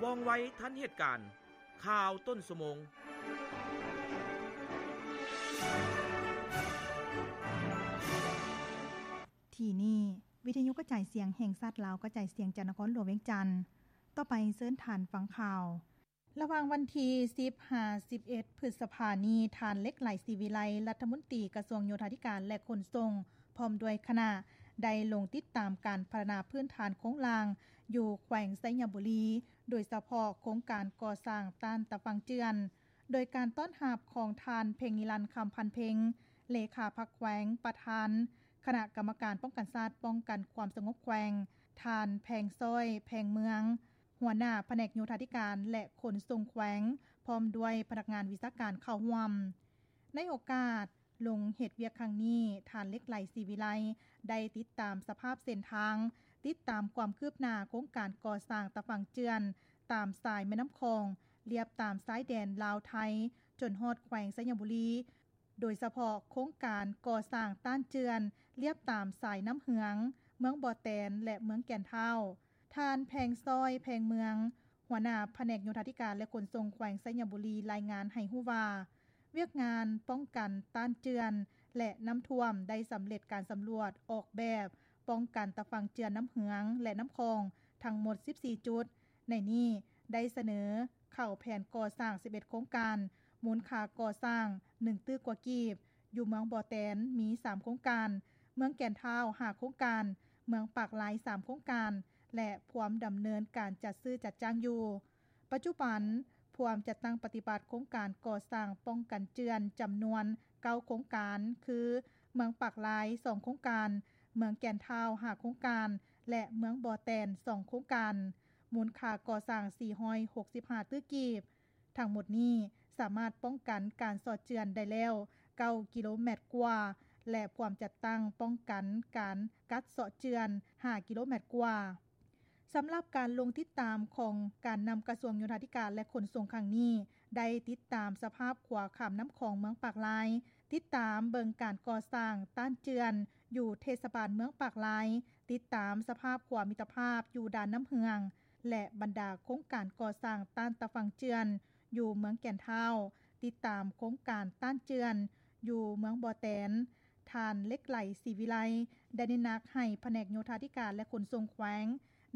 ວ່ອງໄວທັນເຫດການ. ຂ່າວຕົ້ນຊົ່ວໂມງ. ທີ່ນີ້ ວິທະຍຸກະຈາຍສຽງແຫ່ງຊາດລາວ ກະຈາຍສຽງຈາກນະຄອນຫຼວງວຽງຈັນ. ຕໍ່ໄປເຊີນທ່ານຟັງຂ່າວ. ລະຫວ່າງວັນທີສິບຫາສິບເອັດ ພຶດສະພານີ້, ທ່ານ ເລັກໄຫຼ ສີວິໄລ ລັດຖະມົນຕີກະຊວງໂຍທາທິການ ແລະ ຂົນສົ່ງ ພ້ອມດ້ວຍຄະນະ ໄດ້ລົງຕິດຕາມການພັດທະນາພື້ນຖານໂຄງລ່າງຢູ່ແຂວງໄຊຍະບູລີ, ໂດຍສະເພາະໂຄງການກໍ່ສ້າງຕ້ານຕາຝັ່ງເຈື່ອນ, ໂດຍການຕ້ອນຮັບຂອງທ່ານ ເພັງນິລັນ ຄຳພັນເພັງ ເລຂາພັກແຂວງ, ປະທານຄະນະກຳມະການປ້ອງກັນຊາດ ປ້ອງກັນຄວາມສະຫງົບແຂວງ, ທ່ານ ແພງຊ້ອຍ ແພງເມືອງ ຫົວໜ້າພະແນກໂຍທາທິການ ແລະ ຂົນສົ່ງແຂວງ ພ້ອມດ້ວຍພະນັກງານວິຊາການເຂົ້າຮ່ວມ. ໃນໂອກາດລົງເຮັດວຽກຄັ້ງນີ້, ທ່ານ ເລັກໄຫຼ ສີວິໄລ ໄດ້ຕິດຕາມສະພາບເສັ້ນທາງ, ຕິດຕາມຄວາມຄືບໜ້າໂຄງການກໍ່ສ້າງຕາຝັ່ງເຈື່ອນຕາມສາຍແມ່ນ້ຳຂອງ, ລຽບຕາມຊາຍແດນລາວໄທ ຈົນຮອດແຂວງໄຊຍະບູລີ, ໂດຍສະເພາະໂຄງການກໍ່ສ້າງຕ້ານເຈື່ອນລຽບຕາມສາຍນ້ຳເຫືອງ, ເມືອງບໍ່ແຕນ ແລະ ເມືອງແກ່ນທ້າວ. ທ່ານ ແພງຊ້ອຍ ແພງເມືອງ ຫົວໜ້າພະແນກໂຍທາທິການ ແລະ ຂົນສົ່ງແຂວງໄຊຍະບູລີ ລາຍງານໃຫ້ຮູ້ວ່າ, ວຽກງານປ້ອງກັນຕ້ານເຈື່ອນ ແລະ ນ້ຳຖ້ວມ ໄດ້ສຳເລັດການສຳຫຼວດອອກແບບປ້ອງກັນຕາຝັ່ງເຈື່ອນນ້ຳເຫືອງ ແລະ ນ້ຳຂອງ ທັງໝົດສິບສີ່ຈຸດ. ໃນນີ້ໄດ້ສະເໜີເຂົ້າແຜນກໍ່ສ້າງສິບເອັດໂຄງການ, ມູນຄ່າກໍ່ສ້າງໜຶ່ງຕື້ກວ່າກີບ, ຢູ່ເມືອງບໍ່ແຕນມີສາມໂຄງການ, ເມືອງແກ່ນທ້າວຫ້າໂຄງການ, ເມືອງປາກລາຍສາມໂຄງການ ແລະ ພວມດຳເນີນການຈັດຊື້ຈັດຈ້າງຢູ່. ປັດຈຸບັນ ພວມຈັດຕັ້ງປະຕິບັດໂຄງການກໍ່ສ້າງປ້ອງກັນເຈື່ອນຈຳນວນເກົ້າໂຄງການ ຄື ເມືອງປາກລາຍສອງໂຄງການ, ເມືອງແກ່ນທ້າວຫ້າໂຄງການ ແລະ ເມືອງບໍ່ແຕນສອງໂຄງການ, ມູນຄ່າກໍ່ສ້າງສີ່ຮ້ອຍຫົກສິບຫ້າຕື້ກີບ. ທັງໝົດນີ້ສາມາດປ້ອງກັນການເຊາະເຈື່ອນໄດ້ແລ້ວເກົ້າກິໂລແມັດກວ່າ ແລະ ພວມຈັດຕັ້ງປ້ອງກັນການກັດເຊາະເຈື່ອນຫ້າກິໂລແມັດກວ່າ. ສຳລັບການລົງຕິດຕາມຂອງການນຳກະຊວງໂຍທາທິການ ແລະ ຂົນສົ່ງຄັ້ງນີ້, ໄດ້ຕິດຕາມສະພາບຂົວຂ້າມນ້ຳຂອງເມືອງປາກລາຍ, ຕິດຕາມເບິ່ງການກໍ່ສ້າງຕ້ານເຈື່ອນຢູ່ເທດສະບານເມືອງປາກລາຍ, ຕິດຕາມສະພາບຂົວມິດຕະພາບຢູ່ດ່ານນ້ຳເຫືອງ ແລະ ບັນດາໂຄງການກໍ່ສ້າງຕ້ານຕາຝັ່ງເຈື່ອນຢູ່ເມືອງແກ່ນທ້າວ, ຕິດຕາມໂຄງການຕ້ານເຈື່ອນຢູ່ເມືອງບໍ່ແຕນ. ທ່ານ ເລັກໄຫຼ ສີວິໄລ ໄດ້ເນັ້ນໜັກໃຫ້ພະແນກໂຍທາທິການ ແລະ ຂົນສົ່ງແຂວງ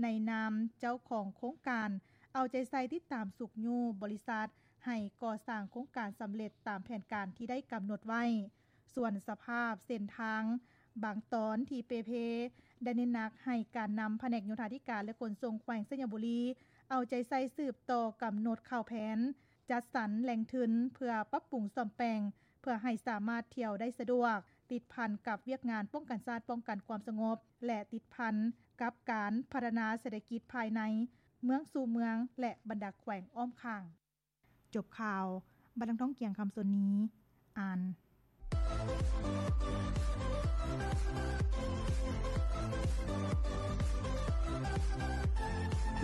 ໃນນາມເຈົ້າຂອງໂຄງການ ເອົາໃຈໃສ່ຕິດຕາມຊຸກຍູ້ບໍລິສັດ ໃຫ້ກໍ່ສ້າງໂຄງການສຳເລັດຕາມແຜນການທີ່ໄດ້ກຳນົດໄວ້. ສ່ວນສະພາບເສັ້ນທາງບາງຕອນທີ່ເປ່ເພ, ໄດ້ເນັ້ນໜັກໃຫ້ການນຳພະແນກໂຍທາທິການ ແລະ ຂົນສົ່ງແຂວງໄຊຍະບູລີ ເອົາໃຈໃສ່ສືບຕໍ່ກຳນົດຂ່າວແຜນ, ຈັດສັນແຫຼ່ງທຶນເພື່ອປັບປຸງສ້ອມແປງ ເພື່ອໃຫ້ສາມາດທ່ຽວໄດ້ສະດວກ, ຕິດພັນກັບວຽກງານປ້ອງກັນຊາດ, ປ້ອງກັນຄວາມສະຫງົບ ແລະ ຕິດພັນກັບການພັດທະນາເສດຖະກິດພາຍໃນເມືອງສູ່ເມືອງ ແລະ ບັນດາແຂວງອ້ອມຂ້າງ. ຈົບຂ່າວ, ບັດນາງທອງກຽງ ຄຳສົນນີ ອ່ານ.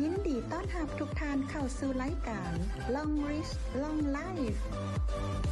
ຍິນດີຕ້ອນຮັບທຸກທ່ານເຂົ້າສູ່ລາຍການ Long Reach Long Life.